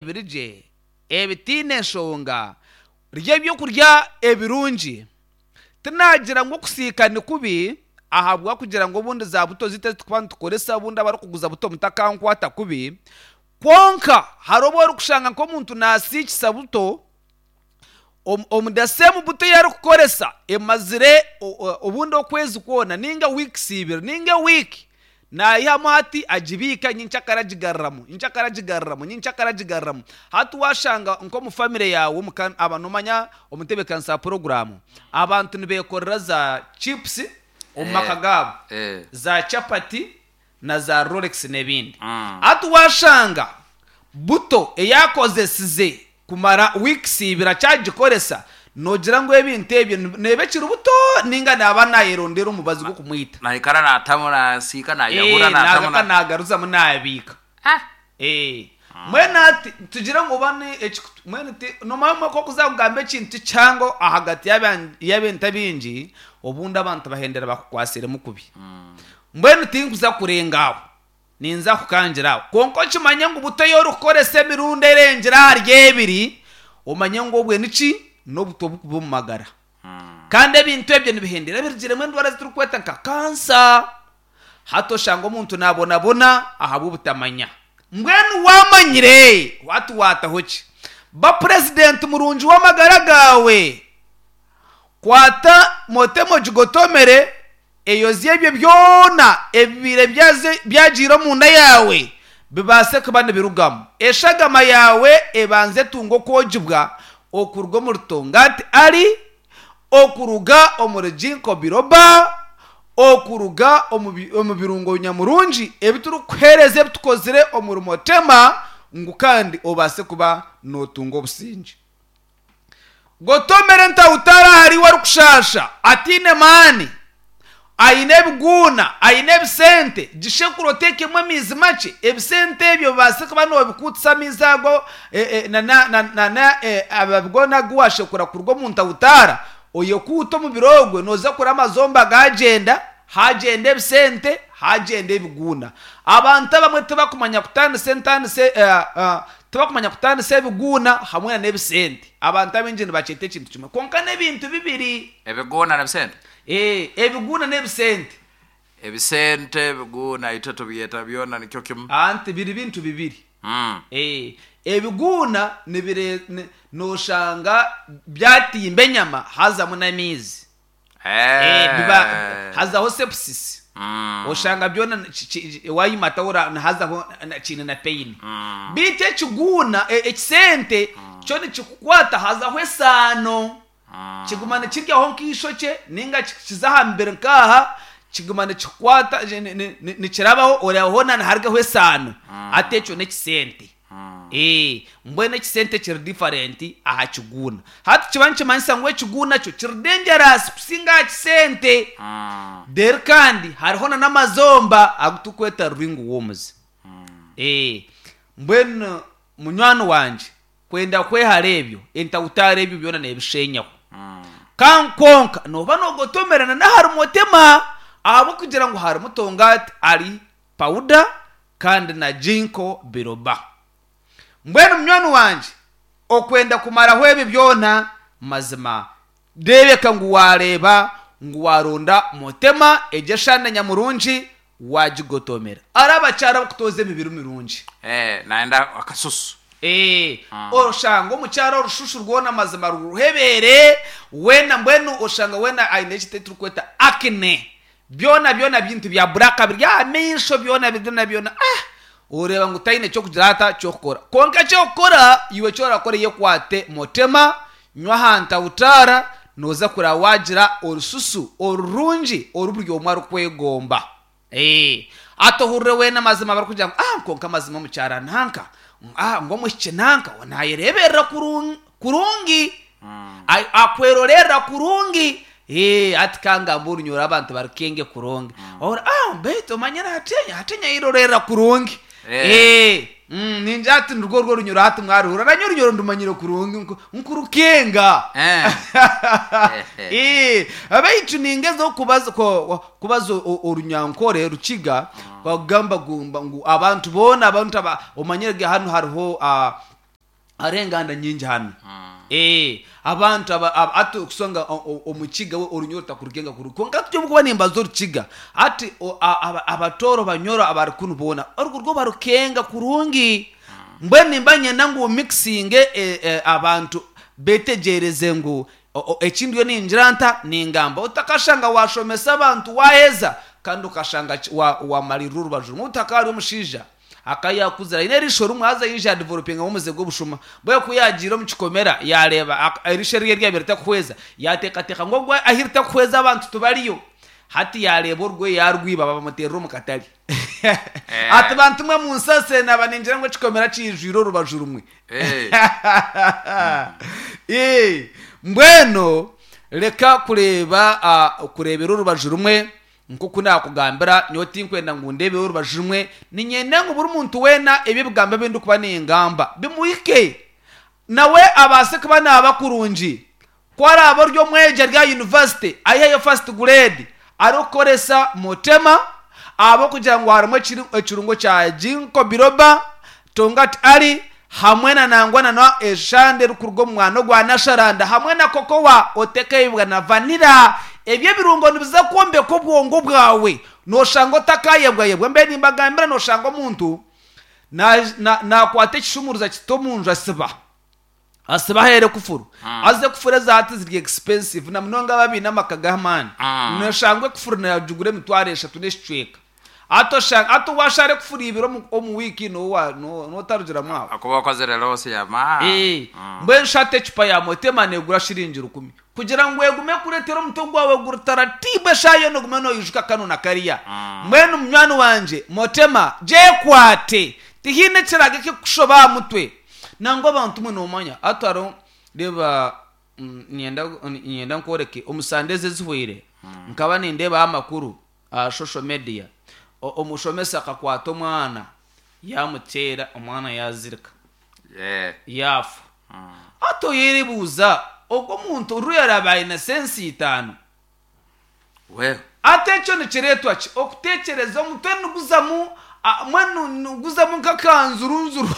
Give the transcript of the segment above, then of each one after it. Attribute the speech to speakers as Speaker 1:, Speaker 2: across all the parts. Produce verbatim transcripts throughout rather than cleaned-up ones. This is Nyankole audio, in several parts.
Speaker 1: Ebiri gye, ebitaine nshonga, rya ebyokurya ebirungi. Tinaagira ngu okusiika ni kubi ahabw'okugira ngu obundi za buto zaitu ezi turikuba nitukoresa obundi abarikuguza buto mutakankwata kubi, kwonka hariho obu orikushanga nk'omuntu naasiikisa buto, omu omu the same buto ei arikukoresa emazire obundi okwezi kwona nainga weeks ibiri nainga ewiiki, naihamu hati agibiika nyenkyakare agigaruramu, nyenkyakare agigaruramu, nyenkyakare agigaruramu. Hati waashanga nk'omu famire yaawe omuka aba noomanya omu ntebeekanisa ya puroguraamu, abantu nibeekorera za chips omu maka gaabo, za chapati na za rolex n'ebindi. Hati waashanga buto ei akozesize kumara weeks ibiri akyagikoresa, noogira ngu ebintu ebyo neeba ekiri buto nainga naaba naayerondera omubazi gw'okumwita?
Speaker 2: Naikara naatamu naasiika naayahura
Speaker 1: Eh,
Speaker 2: naatamu
Speaker 1: naagaruka
Speaker 2: na
Speaker 1: naagaruzamu naabiika.
Speaker 2: Ah!
Speaker 1: Eh, mbwenu hati tugire ngu oba ni eki mbwenu ti noomanya obumwe ku orikuza kugamba ekintu kihango ahagati y'aban- y'ebintu ebingi, obundi abantu bahendera bakukwatsiremu kubi. Mbwenu tinkuza kurenga aho, ninza kukangira aho. Kwonka okimanye ngu buto ei orikukoresa emirundi erengire ahari ebiri, omanye ngu obwe niki? N'obuto oburikuba omu magara. Kandi ebintu ebyo nibihendera birugiremu endwara ezi turikweta nka kansa. Hati oshanga omuntu naabonabona ahabw'obutamanya. Mbwenu waamanyire, hati waataho ki? Ba purezidenti murungi w'amagara gaawe. Kwata motema ogigotomere, eyozye ebyo byona ebibaire byagiire omunda yaawe bibaase kuba nibirugamu. Eshagama yaawe ebanze etunge okwogibwa okuruga omuri Tongati Ali, okuruga omuri Ginkgo Biloba, okuruga omu birungo nyamurungi ebi turikukuheereza ebi tukozire omuri Motema ngu kandi obaase kuba nootunga obusingye. Gotomera entahutara ahari iwe arikushaasha, ataine maani, aine ebiguuna, aine ebisente, gishekure oteekemu amaizi makye, ebisente ebyo obaase kuba noobikuutisa amaizi ago nana amababi goona agu waashekura kuruga omu ntahutara, oyekuute omubiri ogwe nooza kureba amazomba gaagyenda, haagyenda ebisente, haagyenda ebiguuna. Abantu abamwe tibakumanya kutaanisa entaanisa tibakumanya kutaanisa ebiguuna hamwe nana ebisente. Abantu abaingi nibakyeta ekintu kimwe kwonka n'ebintu bibiri.
Speaker 2: Ebiguuna n'ebisente?
Speaker 1: Ee, ebiguuna n'ebisente.
Speaker 2: Ebisente, ebiguuna itwe tubyeta byona nikyo kimwe.
Speaker 1: Anti biri bintu bibiri. Ee, ebiguuna nibire nooshanga byatimba enyama hazamu n'amaizi. Ee, biba hazaho sepsis. Oshanga byona waayimata hazaho kiine na pain. Beitu ekiguuna, ekisente kyo nikikukwata hazaho esaano. Kiguma nikiryaho nk'eishokye nainga kiza aha mubiri nk'aha, kiguma nikikukwata nikirabaho oreeba hoona niharugaho esaano. Hati ekyo n'ekisente. Ee, mbwenu ekisente kiri different aha kiguuna. Hati kiba nikimanyisa ngu ekiguuna kyo kiri dangerous kusinga aha kisente. Reero kandi hariho n'amazomba agu turikweta ring worms. Ee, mbwenu munywani wangye kwenda kwehara ebyo, entahutara ebyo byona neebishenyaho. Ka kwonka nooba noogotomerana n'ahari motema ahabw'okugira ngu harimu tongati ari pawuda kandi na ginkgo biloba. Mbwenu munywani wangye okwenda kumaraho ebi byona mazima reebeka ngu waareeba ngu waaronda motema egyo eshande nyamurungi waagigotomera. Ari abakyara abarikutooza emibiri mirungi.
Speaker 2: Eh, nayenda akasusu.
Speaker 1: Ee, oshanga omukyara orushushu rwona mazima ruruhebeere weena mbwenu oshanga weena aine eki turikweta acne. Byona byona bintu bya black biri aha maisho byona byona byona ah! Oreeba ngu taine ky'okugira ata ky'okukora. Kwonka eky'okukora iwe eki orakore yekwate motema, nywa aha ntahutara, nooza kureba waagira orususu orurungi oru buri omwe arikwegomba. Ee, hati ohurire weena amazima barikugira ngu ah kwonka amazima omukyara nanka, ah ngu omwishiki nanka naayereeberera kurungi, akwerorerera kurungi. Ee, hati ka ngambe orunyoro abantu barikenge kurungi. Ohurira ah beitu omanyire hati hati nyayerorerera kurungi. Ee, mm, ningira hati nirwo orwo orunyoro hati mwaruhurira. Nanye orunyoro ndumanyire kurungi nkurukenga. Ee, beitu ningezaho kubaza kubaza Orunyankore Rukiga kugamba ngu abantu boona abantu aba omanyire ge hanu hariho ah, Hariho enganda nyingi hanu. Eh, abantu aba- aba- ati okusanga o- o- omukiga we orunyoro takurugenga kuru konka tujya kuba nimbaza orukiga ati o- a- aba- abatoro banyoro abari kunu boona orwo rwo barukenga kurungi. Mbwenu nimba nyenda ngu mixinge eh, eh, abantu betegereze ngu o- o- ekindi yo ningira nta ningamba utakashanga washomesa abantu waheza kandi ukashanga ki- wa- wamalirira orubaju rumwe. Utaka ari omushaija akayakuzira aine erisho rimwe, haza yija yadevelopinga omuze gw'obushuma bwe ku yagiire omu kikomera yareeba ak- erisho rye ryabire ritakuhweza, yateekateeka ngu ogwe ahi ritakuhweza abantu tubariyo. Hati yareeba orwe yarwiba, babamuterera omu katare ati bantu mwe munsase naba ningira ngu ekikomera kijwire orubaju rumwe.
Speaker 2: Eh.
Speaker 1: Eh, mbwenu reka kureeba ah, kureebera orubaju rumwe. Nkoku nakugambira, nyowe tinkwenda ngu ndeebeho orubaju rumwe, ninyenda ngu buri muntu weena ebi ebigambo ebi ndikuba ningamba bimuhike nawe abaase kuba naaba kurungi. Ku araaba ori omwegi ari aha university ayiheyo first grade arikukoresa Motema, ahabw'okugira ngu harimu ekiri- ekirungo kya ginkgo biloba, tongkat ali, hamwe na nangwa na eshande erikuruga omu mwana ogwa nasharanda, hamwe na cocoa otekeibwa na vanilla. Ebyo ebirungo nibiza kwombeka obwongo bwawe, noshanga otakayebwayebwa. Mbe nimbagambira, noshanga omuntu na- na- nakwata ekishumuruza kiti omunju, asiba asiba ahere kufuru, aze kufura ezahati ziri expensive na munonga ababiine amaka g'amaani.
Speaker 2: Mm.
Speaker 1: Noshanga ekufuru nagigura emitwaro eshatu n'ekicweka. Ati oshanga ati washara ekufuru ibiri omu- omu wiiki nowa- no- notarugiramu aho.
Speaker 2: Akuba okozere loss ya ma.
Speaker 1: Eh, mbwenu shata ecupa ya Motema negura shiringi rukumi kugira ngu egume kuretera omutwe gwawe guri taratibu, eshaaha yoona ogume noyijuka kanu na kariya. Mbwenu munywani wangye, Motema gyekwate, tihaine ekirago ekikukushoba aha mutwe. Nangwa abantu mwe nomanya ati hariho reeba mm, nyenda nyenda nkworeke. Omu sande ezi ezihweire nkaba nindeebaho amakuru aha social media. O- omushomesa akakwata omwana yamuteera, omwana yazirika,
Speaker 2: Yeah.
Speaker 1: yafa. Ati oyeribuuza ogwo omuntu oru yaraba aine sensi itaano?
Speaker 2: We.
Speaker 1: Ate ekyo nikireetwa ki? Okuteekyereza omutwe niguzamu a- mbwenu niguzamu nk'akanzurunzuru.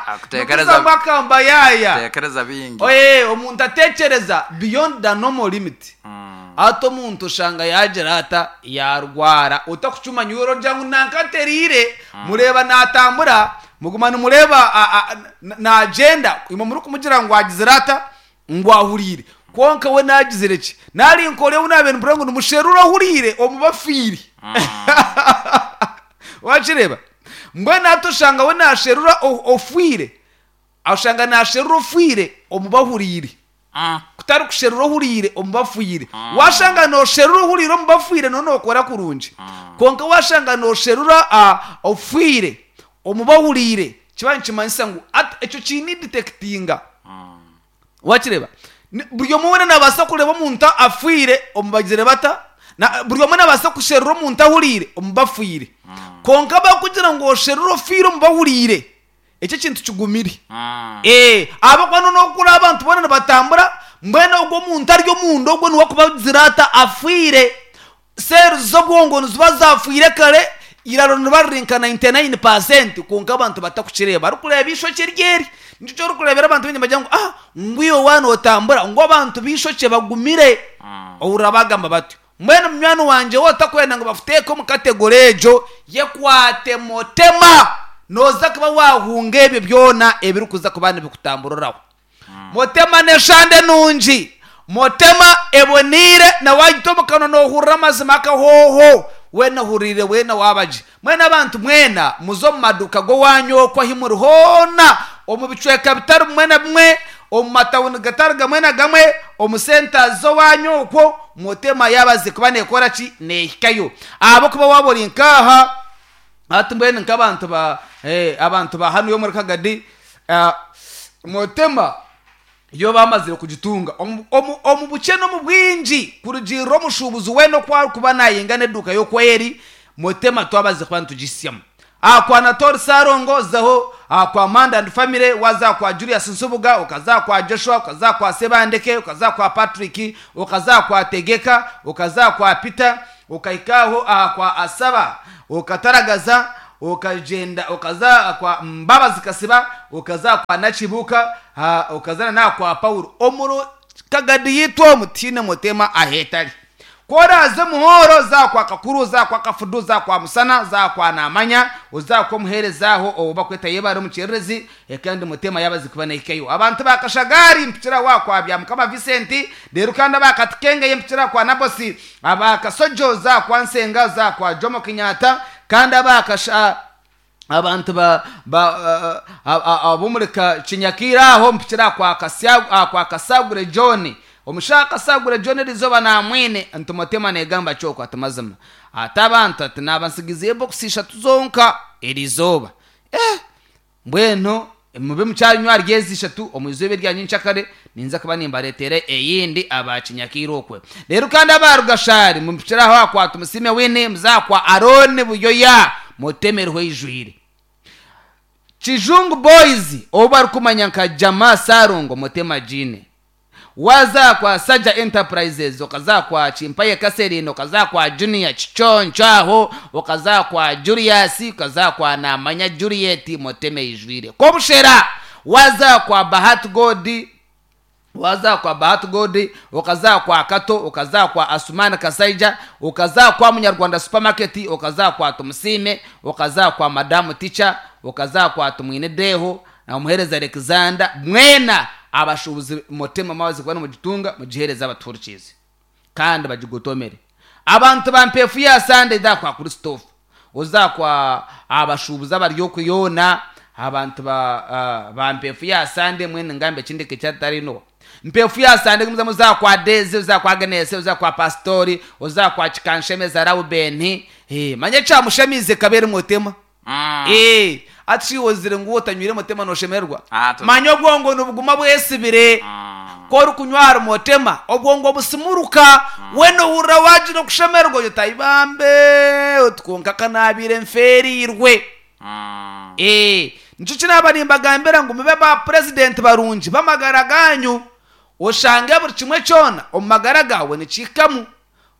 Speaker 2: Akutekereza-
Speaker 1: Niguzamu akambayaya.
Speaker 2: Tekereza bingi.
Speaker 1: Oye, omuntu ateekyereza beyond the normal limit. Ati omuntu oshanga yagira ata yarwara otakucumanya iwe orogira ngu nanka ateriire, mureeba natambura, muguma nimureeba a- a- na- nagyenda, imwe murikumugira ngu agizire ata, ngu ahuriire, konka we nagizire ki? Nari nkore ou nabiire nimpurira ngu nimusherura ohuriire omu bafiire. Wakireeba? Mbwenu hati oshanga we nasherura o- ofiire, oshanga nasherura ofiire omu bahuriire,
Speaker 2: Mm.
Speaker 1: kutari kusherura ohuriire omu bafiire. Washanga nosherura ohuriire omu bafiire, no nokora kurungi, konka washanga nosherura ah, ofiire omu bahuriire, kiba nikimanyisa ngu ati ekyo kiine detectinga. Wakireba? Ni- buri omwe weena nabaasa kureeba omuntu afiire omu bagizire bata na buri omwe nabaasa kusherura omuntu ahuriire omu bafiire, konka bakugira ngu osherure ofiire omu bahuriire, ekyo ekintu kigumire.
Speaker 2: Mm.
Speaker 1: Eh, ahabwokuba noneho kuri abantu boona nibatambura, mbwenu ogwo omuntu ari omunda ogwo niwe akubagira ata afiire. Seeri z'obwongo niziba zafiire kare, iraro niba riri nka ninety-nine percent, konka abantu batakukireeba barikureeba ishokye ryeri. Nikyo orikureebera abantu baingi bagira ngu ah ngwiwe waana otambura ngu abantu b'ishokye bagumire, ohurira bagamba batyo. Mbwenu munywani wangye, wowe otakwenda ngu bakuteeke omu category egyo, yekwate Motema, noza kuba wahunga ebyo byona ebirikuza kuba nibikutamburiraho. Motema n'eshande nungi, Motema eboniire, na wagita omu kanwa nohurira amazima akahooho weena ohuriire weena wabagye. Mwena abantu mwena muze omu maduuka g'owanyu okwo ahi muri hoona, omu bicweka bitari bimwe na bimwe, omu matawuni gatari gamwe na gamwe, omu centers z'owanyu okwo, Motema yabaze kuba nekora ki? Nehikayo. Ahabwokuba waba ori nkaha ati mbwenu nk'abantu ba eh, abantu ba hanu yo muri Kagadi, ah, Motema iyo bamazire kugitunga omu- omu omu bukye n'omu bwingi, kurugirira omushuubuzi weena oku arikuba nayinga n'eduuka y'okweri, Motema twabaze kuba nitugisyamu aha kwa Natori Sarongo, zaho aha kwa Manda and Family, waza kwa Julius Nsubuga, ukaza kwa Joshua, ukaza kwa Sebandeke, ukaza kwa Patrick, ukaza kwa Tegeka, ukaza kwa Peter, ukahikaho aha kwa Asaba, ukataragaza, ukagenda ukaza kwa Mbabazi Kasiba. okaza kwa Nakibuka, ha, okazana na kwa Paulo omuro Kagadi yitu omu tiine mutema ahetari. Koraze muhoro za kwa Kakuru, za kwa Kafudu, za kwa Musana, za kwa Namanya, uza kwa muherezaho oba kweta yebare mucererezi, kandi mutema yabazi kuba nekeyo. Abantu bakashagari mpitira wa kwa bya Mukama Vincent, rero kandi abakatikenge yempitira kwa Nabosi, abakasojo za kwa Nsenga, za kwa Jomo Kenyatta, kandi abakasha abantu ba ba abomureka Kinyakira aho mpitira kwa Kasya kwa Kasagure John. Omushaka Sagure John rizoba na mwene ntumotema negamba cyoko atamazima atabantu ati nabansigize box eshatu zonka erizoba eh mbweno mube mucyanywa ryezi eshatu omuzobe ryanyu nchakare ninza kuba nimbaretere eyindi abakinyakira okwe. Rero kandi abarugashari mupitiraho akwata musime wene muzakwa Arone Buyoya mutemerwe ijwire. Kijungu Boys oba kumanya nka Jama Sarungo mutema jine. Waza kwa Saja Enterprises, okaza kwa Chimpaye Kaserino, okaza kwa Junior Chichonchaho, okaza kwa Julius, okaza kwa Namanya Juliet muteme ijwire. Kobushera waza kwa Bahat Godi, waza kwa Bahat Godi, okaza kwa Kato, okaza kwa Asumana Kasaija, okaza kwa Munyarwanda Supermarket, okaza kwa Tumusime, okaza kwa Madamu Teacher, okaza kwa Tumwine Deho na umuhereza Alexander mwena abashubuzi mutema mawazi kubana mu gitunga mugihereza abaturkizi kandi bagigotomere. Abantu bampefu ya Sunday da kwa Christophe uza kwa abashubuzi abaryo kuyona abantu ba uh, bampefu ya Sunday mwene ngambe chindike cyatarino mpefu ya Sunday muza muza kwa Deze, uza kwa Agnes, uza kwa Pastori, uza kwa Chikanshemeza Raubeni eh manye cha mushemize kabere mutema
Speaker 2: Mm.
Speaker 1: eh ati wozire ngo utanywire mutema noshemerwa
Speaker 2: Ah,
Speaker 1: manye obwongo nubuguma bwesibire
Speaker 2: Mm.
Speaker 1: kori kunywara mutema obwongo busimuruka mm. weno hurra wajira kushemerwa yotayibambe utwonka kanabire mferirwe
Speaker 2: Mm.
Speaker 1: eh nico kinaba nimbagambira ngo mube ba president barungi bamagara ganyu oshange buri kimwe cyona omagara gawe nikikamu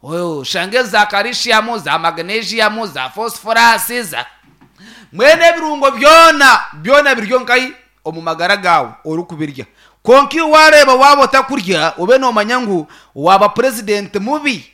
Speaker 1: oshange za calcium, za magnesium, za phosphorus, za mwene ebirungo byona byona biryo nkai omu magara gawe ori kubirya. Konki wareba waba otakurya ube nomanya ngu waba president mubi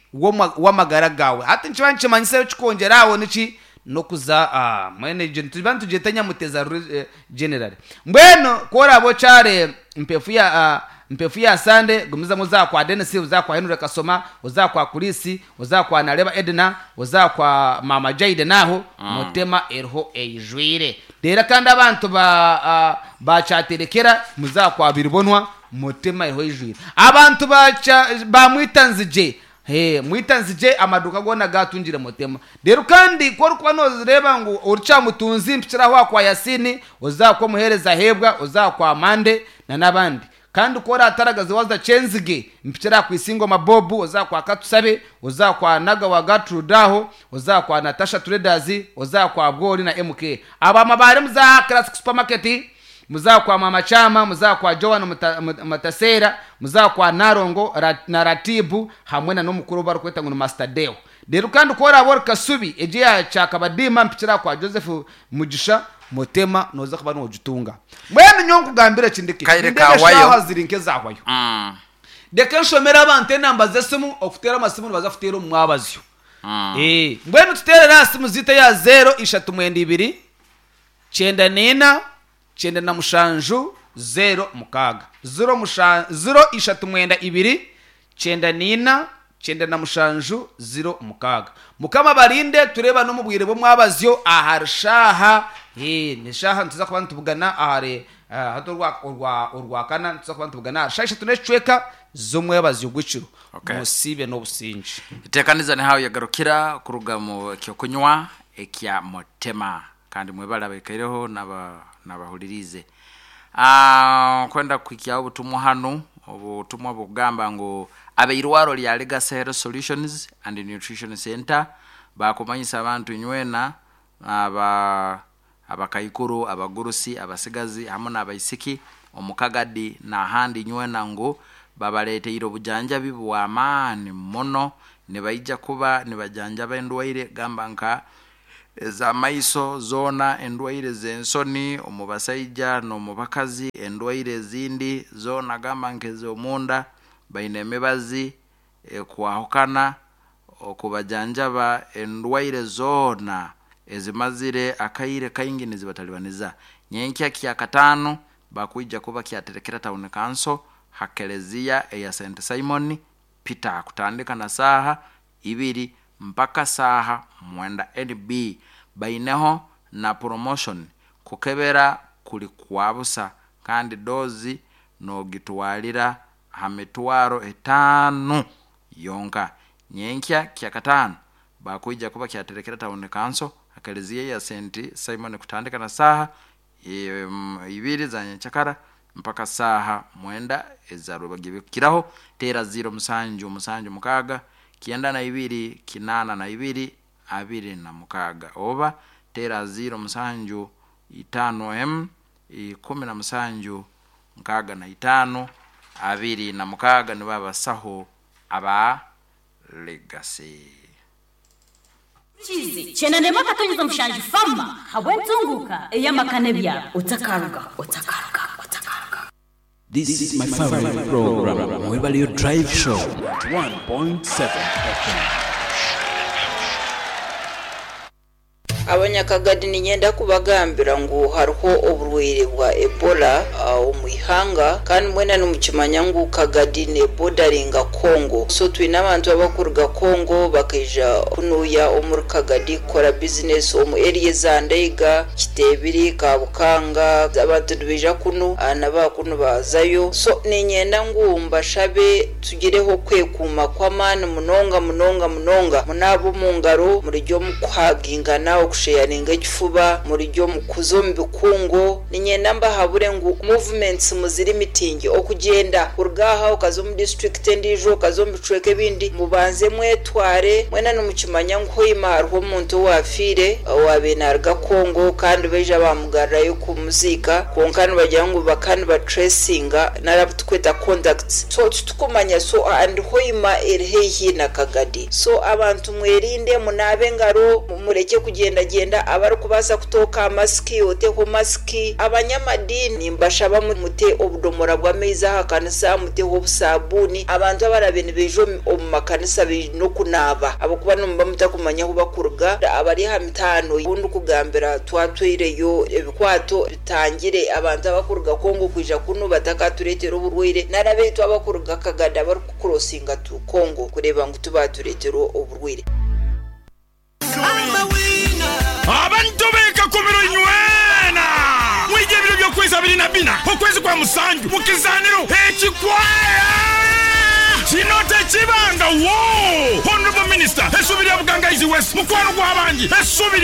Speaker 1: w'amagara gawe. Hati nkiba nkimanyisa kikongera aho niki nokuza ah, mwene tuba ntugete Nyamuteza eh, general mbweno korabo cyare mpefu ya ah, mpefu ya Sande gumiza muza kwa Dennis, uza kwa Henry Kasoma, uza kwa Kulisi, uza kwa Nareba Edna, uza kwa Mama Jaide naho mm. mutema erho ejwire. Dera kandi abantu ba uh, bachaterekera muza kwa Biribonwa mutema erho ejwire. Abantu bacha bamwitanzije he mwitanzije amaduka gona gatungire mutema. Rero kandi ko rukuba nozireba ngo urca mutunzi mpitiraho kwa Yasini, uza kwa muhereza hebwa, uza kwa Mande na nabandi. Kandi kora ataragaze waza chenzige mpitira ku isingo mabobu, uza kwa Katusabe, uza kwa Naga wa Gatrudaho, uza kwa Natasha Traders, uza kwa Bwori na M K. Aba mabare muza Classic Supermarket, muza kwa Mama Chama, muza kwa Joan Mutasera, muza kwa Narongo na Ratibu hamwe na nomukuru barukweta ngo Master Deo. Rero kandi kora abor Kasubi eje ya Chakabadima mpitira kwa Joseph Mugisha mutema noza kuba nogitunga. Mwene nyonku gambira chindiki
Speaker 2: kawayo
Speaker 1: zirinke zahwayo.
Speaker 2: Mm.
Speaker 1: Deka nshomera abantu enamba zesimu okutera amasimu bazafutera omwabazyo.
Speaker 2: Mm.
Speaker 1: Eh, mbwenu tuterera simu zita ya zero ishatu mwenda ibiri cyenda nena cyenda na mushanju zero mukaga. Zero musha zero ishatu mwenda ibiri cyenda nina cyenda na mushanju zero mukaga. Mukama barinde tureba no mubwire bo mwabazyo aharshaha. Eh, nishaha ntuza kuba ntubugana ahare hato rwa urwa urwa kana ntuza kuba ntubugana shasha tunecweka zomwe bazyo gwiciro.
Speaker 2: Okay.
Speaker 1: Musibe no businji.
Speaker 2: Itekaniza ni hayo yagarukira kuruga mu kyo kunywa ekya mutema kandi mwebala bekaireho naba nabahulirize. Ah, kwenda kwikia obutumwa hano obutumwa bugamba ngo abeirwaro lya Legacy Health Solutions and Nutrition Center bakumanyisa abantu nywena aba abakaikuru abagurusi abasigazi hamwe n'abaisiki omukagadi n'ahandi nywena ngo babaleteire obujanjabi bw'amaani muno nibaija kuba nibajanjaba endwaire gamba nka Ez'amaiso zoona, endwaire z'ensoni omu basaija n'omu bakazi, endwaire ezindi zoona gamba nk'ez'omunda, baine emibazi ekwahukana okubajanjaba endwaire zoona ezimazire akaire kaingi nizibatalibaniza. Nyenkya kya kataano bakwija kuba kyaterekera town council ha kelezia eya Saint Simon Peter kutandika na saaha ibiri mpaka saaha mwenda. N B baineho na promotion, kukebera kuli kwa busa kandi dozi nogitwalira ha mitwaro etaano yonka. Nyenkya kya kataano bakwija kuba kyaterekera town council ha kelezia ya Saint Simon kutandika na saaha em, ibiri za nyenkyakara mpaka saaha mwenda ezarwebagibikiraho. Tera ziro musanju musanju mukaaga kyenda na ibiri kinaana na ibiri abiri na mukaaga, oba tera ziro musanju itaano m ikumi na musanju nkaaga na itaano abiri na mukaaga. Nibo abasaho aba Legacy.
Speaker 3: Kizi kyenda akatonyeza mushanju fama habw'entunguka ey'amaka n'ebyaro. Otakaruga, otakaruga, otakaruga.
Speaker 4: This is my favorite program, Mwebalio Drive Show, one point seven F M.
Speaker 5: Abanyakagadi, ninyenda kubagambira ngu hariho oburwaire bwa Ebola uh, omu ihanga, kandi mwena nimukimanya ngu Kagadi nebodaringa Congo, so twine abantu abakuruga Congo bakaija kunuya omuri Kagadi kukora bizinesi omu area za Ndeiga, Kitebiri, Kabukanga. Abantu nibaija kunu uh, nabakunu bazayo, so ninyenda ngu mbashabe tugireho kwekuuma kw'amaani munonga munonga munonga. Munaaba omu ngaro, murijya omu kuhagingana, okusheyaringa ekifuba, murijya omu kuza omu bikungu. Ninyenda mbahabure ngu movements muziri mitingi, okugyenda kuruga aha okaza omu district endiijo, okaza omu bicweka ebindi, mubanze mwetware. Mwena nimukimanya ngu hoima hariho omuntu owafiire owabiire naruga Congo, kandi baija bamugarurayo kumuziika, kwonka nibagira ngu baka nibatracinga narabu tukweta contacts, so titukumanya. So and Hoima eri haihi na Kagadi, so abantu mwerinde, munaabe engaro, mureke kugendagenda. Abarikubaasa kutooka masiki, oteho masiki. Abanyamadini mbashaba mute obudomora bw'amaizi aha kanisa, muteho obusabuuni. Abantu abarabe nibaija omu- omu makanisa baine okunaaba, ahabwokuba nimuba mutakumanya ahu bakuruga. Abari aha mitaano obundi kugambira twatwireyo ebikwato bitangire abantu abakuruga Kongo kwija kunu batakatureetera oburwaire, nari abaitu abakuruga Kagadi abarikukurosinga tu Kongo kureeba ngu tubatureetera oburwaire.
Speaker 6: Abantu bekakumiro nywena, mwije ebiro by'okwezi abiri na bina okwezi kwa musanju mu kizaniro ekikwaya kino tekibanga wo. Honorable Minister, essubi lya Bugangaizi West, mukwano gw'abangi, essubi.